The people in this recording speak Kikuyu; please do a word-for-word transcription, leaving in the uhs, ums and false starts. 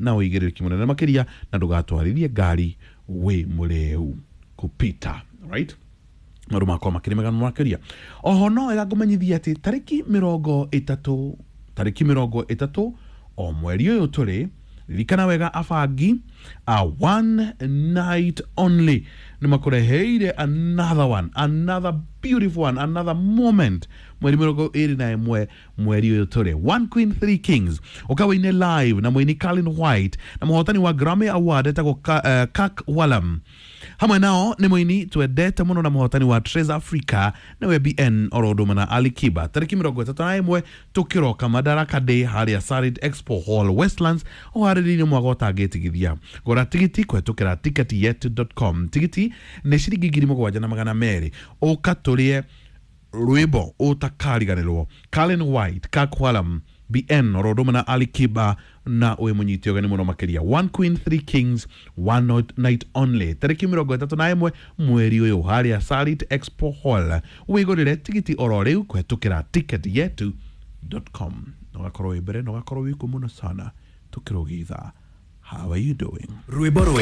Na ũigĩrĩrĩki mũnene makĩria na ndũgatwarithie ngari wĩ mũrĩu kupita, right? Maũndũ makwa makĩrĩ mega makĩria. Oho no wega ngũmenyithia atĩ tarĩki mĩrongo ĩtatũ tarĩki mĩrongo ĩtatũ o mweri ũyũ tũrĩ, ririkana wega, abangi a One Night Only nĩ makũreheire another one, another beautiful one, another moment. Mweri mĩrongo ĩrĩ na ĩmwe mweri ũyũ tũrĩ, One Queen Three Kings, ũkawĩine live na mũini Carlin White na mũhotani wa Grammy Award etagwo Ka, uh, Kak Walam. Hamwe nao nĩ mũini twendete mũno na mũhotani wa Trace Africa, nĩwe B N, oro ũndũ ũmwe na Ali Kiba. Tarĩki mĩrongo ĩtatũ na ĩmwe tũkĩroka Madaraka Day harĩa Sarit Expo Hall, Westlands, ũharĩrĩirio mwaga ũtangĩtigithia. Gũra tigiti kũhetũkĩra ticketyetu dot com. Tigiti nĩ ciringi ngiri mũgwanja na magana merĩ. Ũka tũrĩe rwĩmbo ũtakariganĩrwo, Carlin White, Kak Walam, B N, oro ũndũ ũmwe na Ali Kiba, na wĩ mũnyite ũgeni mũno makĩria. One Queen Three Kings, One Night Only, tarĩki mĩrongo ĩtatũ na ĩmwe mweri ũyũ harĩa Sarit Expo Hall. Wĩgũrĩre tigiti oro rĩu kũhetũkĩra ticketyetu dot com na ũgakorwo wĩ mbere na ũgakorwo wĩ kuo mũno sana tũkĩrũgitha. How are you doing? Rwĩmbo rwe.